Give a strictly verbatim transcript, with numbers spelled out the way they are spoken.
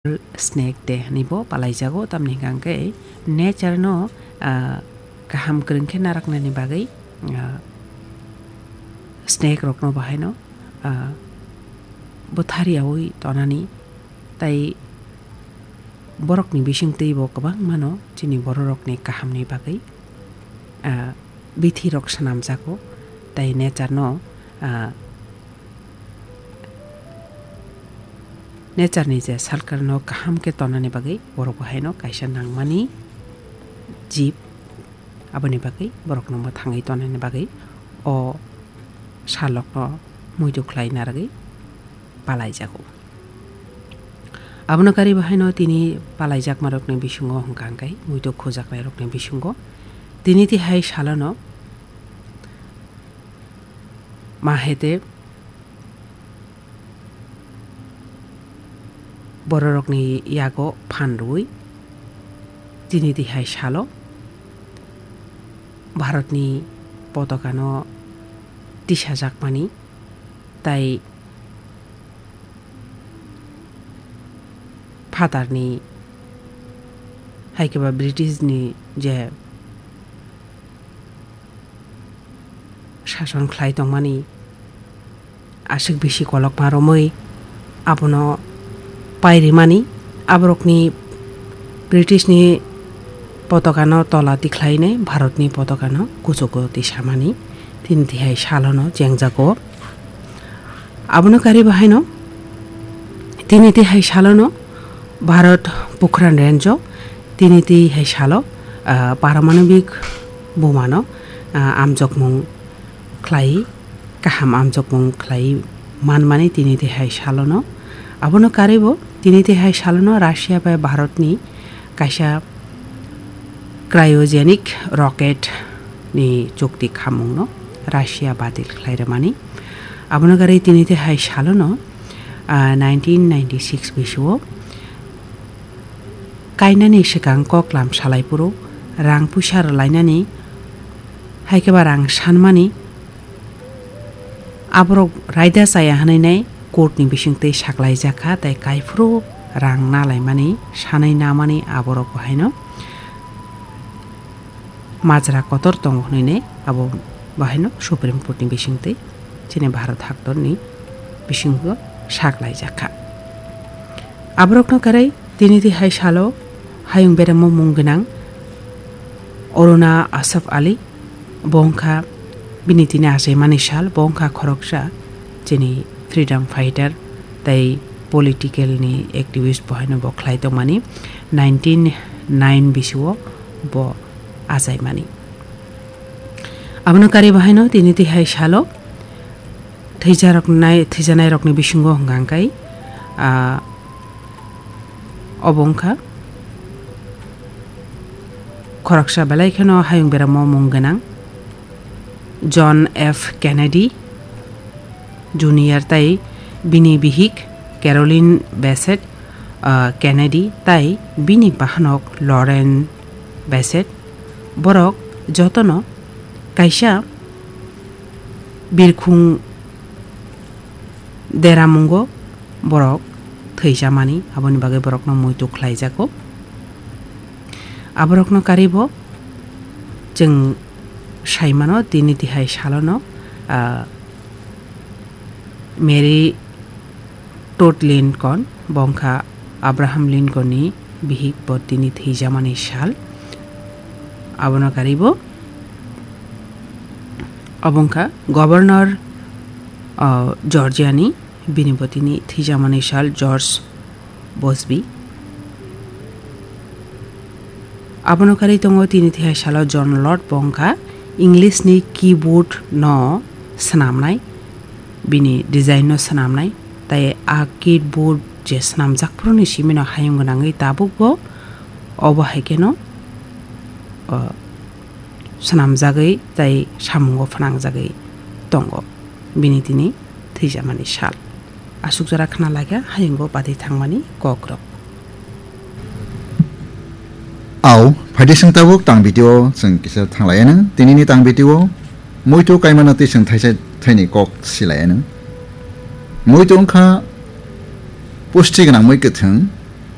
Snake Day hwnwi bo palaijago, tamni hwnkha hwnkhe nature no, ah, kaham kwrwng khe naraknani bagwi, ah, snake rokno bahaino, ah, bwthar yaui tonani, tai borokni bisingtwi bo kwbangmano chini bororokni kahamni bagwi, ah, bithirok swnamjago, tai nature no, ah, nature ni je salkar no kaham khe tonani bagwi borok bo haino kaisa nangmani jib, aboni bagwi borok no mwthangwi tonani bagwi o salok no muitu khlai narwgwi palaijago. Abono kari bo haino tini palaijakma rokni bisingo hwnkha hwnkhe muitu khujaknai rokni bisingo tini tihai salono mahete bororokni yago phan rwui tini tihai salo Bharatni potokano tisajakmani tai phatarni, hai khe ba Britishni je sason khlai tongmani aswk bisi kolokma romwi abono pairimani, aborokni Britishni potokano tola tikhlainai, Bharatni potokano kuchugo tisamani, tini tihai salono chengjago. Abono kari bahaino tini tihai salono Bharat Pokhran Range o tini tihai salo, ah, paramanobik bomano, ah, amjokmung khlai, kaham amjokmung khlai manmani tini tihai salono. Abono karibo tini tihai salono Russia bai Bharatni kaisa cryogenic rocket ni chukti khamungno Russia badil khlai rwmani. Abono kari tini tihai salono, ah, nineteen ninety-six bisio kainani swkang koklam salai phuru rang puisa rwlainani, hai khe ba rang sanmani aborok raida chaya hwnwi nai court ni bisingtwi saklaijak kha, tei kaiphuru rang nalaimani sanwi namani aborok bo haino majra kotor tongo hwnwi nai abo bo haino Supreme Court ni bisingtwi chini Bharat haktorni bisingo saklaijak kha. Aborokno kwrwi tini tihai salo hayung beremo mung gwnang Aruna Asaf Ali, bo wngkha bini tini achaimani sal, bo wngkha khoroksa chini freedom fighter tei political ni activist bo haino bo khlai tongmani nineteen nine bisio bo achaimani. Abono kari bo haino tini tihai salo thwijaroknai, thwijanairokni bisingo hwnkha hwnkhe, ah, obo wngkha khoroksa belai kheno hayung beramo mung gwnang John F Kennedy Junior tei bini bihik Carolyn Bassett, ah, Kennedy tei bini bahanok Lauren Bassett. Borok jotono kaisa birkhung deramungo borok thwijamani, aboni bagwi borokno muitu khlaijago. Aborokno karibo chwng saimano, tini tihai salono, ah, Mary Todd Lincoln, bo wngkha Abraham Lincoln ni bihik, bo tini thwijamani sal. Abono karibo obo wngkha Governor, ah, Georgia ni, bini bo tini thwijamani sal George Busby. Abono kari tongo tini tihai salo John Lord, bo wngkha English ni keyboard no swnamnai, bini design no swnamnai, tai a keyboard je swnamjak phuru ni simi no hayung gwnangwi tabuk bo obo hai kheno, o, swnamjagwi tai samungo phwnangjagwi tongo bini tini thwijamani sal. Aswk jora khna laikha hayungo bati thangmani kokrok. Au, phaidi chwng tabuk tang video chwng kisa thanglaiya nang. Tinini tang video muitu kaimano twi chwng thaisa thaini kok silaiya nang. Muitu wngkha pusti gwnang mui kwthwng,